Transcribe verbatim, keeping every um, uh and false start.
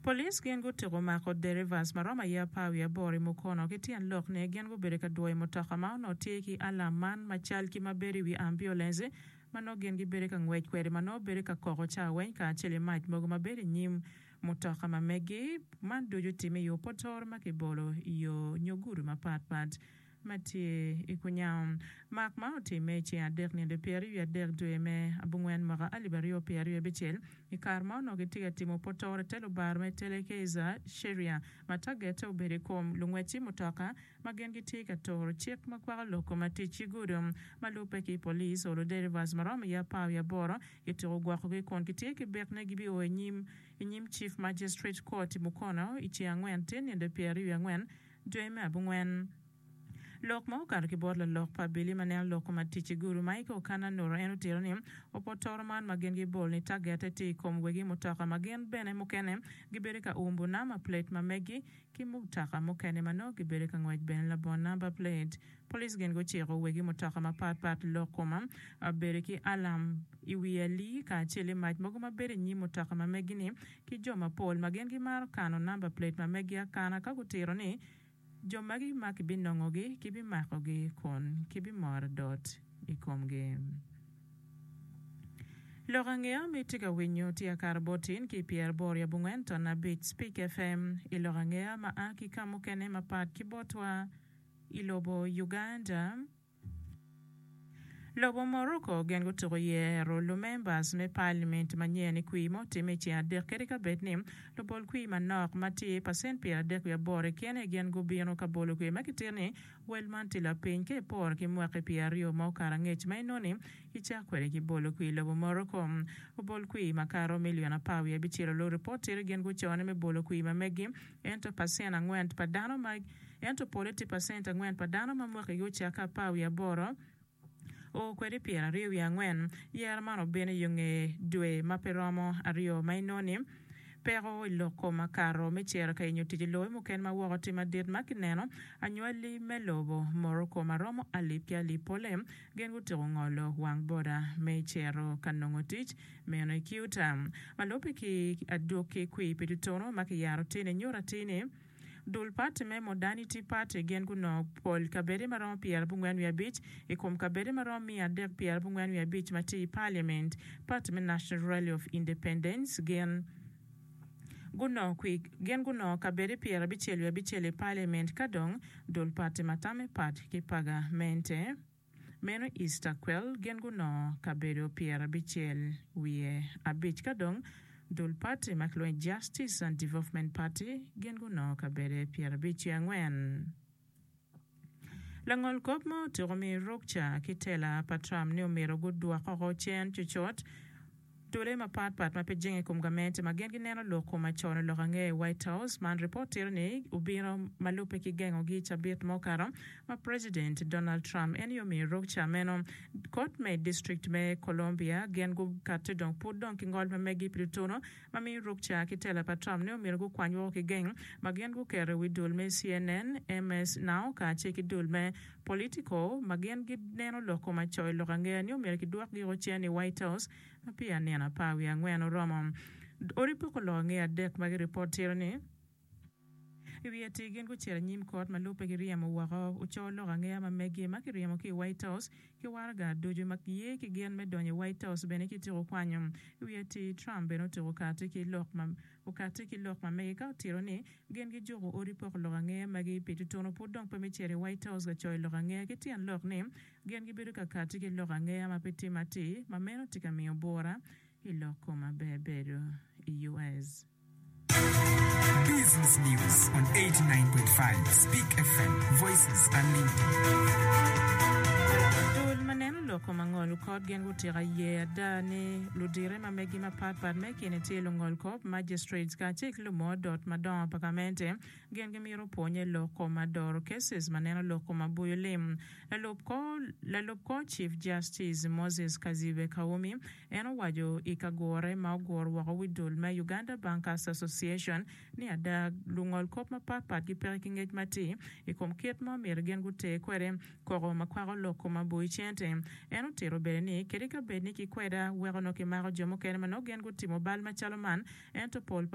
Police gin gutyeko mako derivas ma romo aye apar wiye aboro i Mukono ki tyen lok ni gin gubedo ka dwoyo mutoka ma onongo tye ki alam man macal ki ma bedo i wi ambulance ma nongo gin gibedo ka ngwec kwede ma nongo bedo ka koko cawa weng kacel ki mac mogo ma bedo i nyim mutoka ma megi man ducu timme i opotoro ma kibolo i yo nyo gudo mapatpat ma tye i kunyango. Mak man otimme i ceng adek nino pyeraryo wiye adek dwe me abongwen mwaka alip aryo pyeraryo abicel i kare ma onongo gitye ka timo potoro i te lubaro me Telekeza Sheria ma tagette obedo i kom lungwec ci mutoka ma gin gitye ka turo cik ma kwako lok kom tic ki gudo ma lubbe ki police olo derivas ma romo iye apar wiye aboro kityeko gwokogi kun gitye ki bik ni gibio i nyim i nyim Chief Magistrate Court i Mukono i ceng angwen tye nino pyeraryo wiye angwen dwe me abongwen. Lok ma okato ki bot lalok pa abili ma neno lok kom atic i gudo Michael Kananura en otito ni opotoro man ma gin gibolo ni tagette tye i kom wegi mutoka ma gin bene mukene gibedo ka umbo number plate ma megi ki mutoka mukene ma nongo gibedo ka ngwec bene labongo number plate. Police gin guciko wegi mutoka mapatpat lok koma bedo ki alam i wi alii kacel ki mac mogo ma bedo i nyim mutoka ma megi-ni ki jo mapol ma gin gimaro kano number plate ma megi akana ka gutito ni jo magi ma kibinongogi kibimakogi kun kibimoro dot i komgi. Lok angeya ma itye ka winyo tye akato bot tin ki i pyeraboro i abongwen ton abic Speak F M i lok angeya ma a ki ka mukene mapat ki botwa i lobo Uganda. Lobo Morocco gin gutuko yero lumembers me parliament manyen i kwir ma otimme i ceng adek kadi ka bed ni lubol kwir manok ma tye pacent pyeradek wiye aboro i kene gin gubino ka bolo kwir ma gitito ni wel man tye lapiny ka iporo ki mwaki pyeraryo ma okato angec ma inongo ni gicako kwede ki bolo kwir i lobo Morocco. Obol kwir makato milion apar wiye abicel olubo ripot tye gin gucone me bolo kwir ma megi ento pacent angwen pa dano ma ento pole tye pacent angwen pa dano ma mwakigi ocakke apar wiye aboro o kwede pyeraryo wiye angwen. Yero man obino i yo nge dwe ma pe romo aryo ma inongo ni peko i lok kom akato me cito ka yenyo tic i lobe mukene ma woko tye madit ma kineno anywali me lobo Morocco ma romo alip ki alip pole gin gutyeko ngolo wang boda me cito ka nongo tic meno i Ceuta ma lubbe ki adwogi kwir pi tutunu ma kiyaro tye-ni nyuto atir ni dul party me Modernity Party gin gunongo pol kabede ma romo pyerabongwen wiye abic i kom kabede ma romo miya adek pyerabongwen wiye abic ma tye i parliament. Party me National Rally of Independence gin gunongo kwi gin gunongo kabede pyerabicel wiye abicel i parliament ka dong dul party ma tamme pat ki pagamente meno Istiqlal gin gunongo kabedo pyerabicel wiye abic ka dong dul party ma kilwongo ni Justice and Development Party gin gunongo kabede pyerabic wiye angwen. Langol kop ma otyeko miyo rukca ki tela pa Trump ni omyero gudwok oko cen cucut dule mapatpat ma pe jenge i kom gamente ma gin gineno lok kom acono lok ange i White House man ripot tito ni obino ma lubbe ki gengogi i cabit ma okato ma President Donald Trump en aye omiyo rukca meno kot me district me Columbia gin gukati dong pud dong ki ngol ma megi pi tutunu ma miyo rukca ki tela pa Trump ni omyero gukwany woko ki geng ma gin guketo i wi dul me C N N, M S Now kacel ki dul me Politico ma gin gineno lok kom acoyo lok angeya ni omyero kidwokgi woko cen i White House ma peya nino apar wiye angwen oromo. Odi poko lok angeya adek ma giripot tito ni i wiye atir gin gucito anyim kot ma lubbe ki ryemo woko oco lok angeya ma megi ma kiryemo ki i White House ki waraga ducu ma ye ki gin me donyo i White House bene kityeko kwanyo. I wiye atir Trump bene otyeko kati ki lok ma okati ki lok ma mege ka otito ni gin gijuko odi poko lok angeya magi pi tutunu pud dong pe me cito i White House ka coyo lok angeya ki tyen lok ni gin gibedo ka kati ki lok angeya ma pe tye matir ma meno tye ka miyo bura i lok kom maber bedo i U S. Business News on eighty-nine point five Speak F M, Voices Unlimited. Dul ma neno lok kom angolo kot gin gutyeko ye ada ni ludire ma megi mapatpat me kine tye lungol kop magistrates kacel ki lumo dot madongo pa gamente gin gimito pwonye lok kom adoro cases ma neno lok kom abuyo lim. Lalub kor lalub kor Chief Justice Moses Kazibwe Kawumi en owaco i ka gure ma oguro woko wi dul me Uganda Bankers Association ni ada lungol kop mapatpat gipeke ki ngec matir i kom kit ma omyero gin guter kwede koko ma kwako lok kom abuyi cente. En otito bene ni kadi ka bed ni kikweda weko nongo kimako jo mukene ma nongo gin gutimo bal macalo man ento pol pa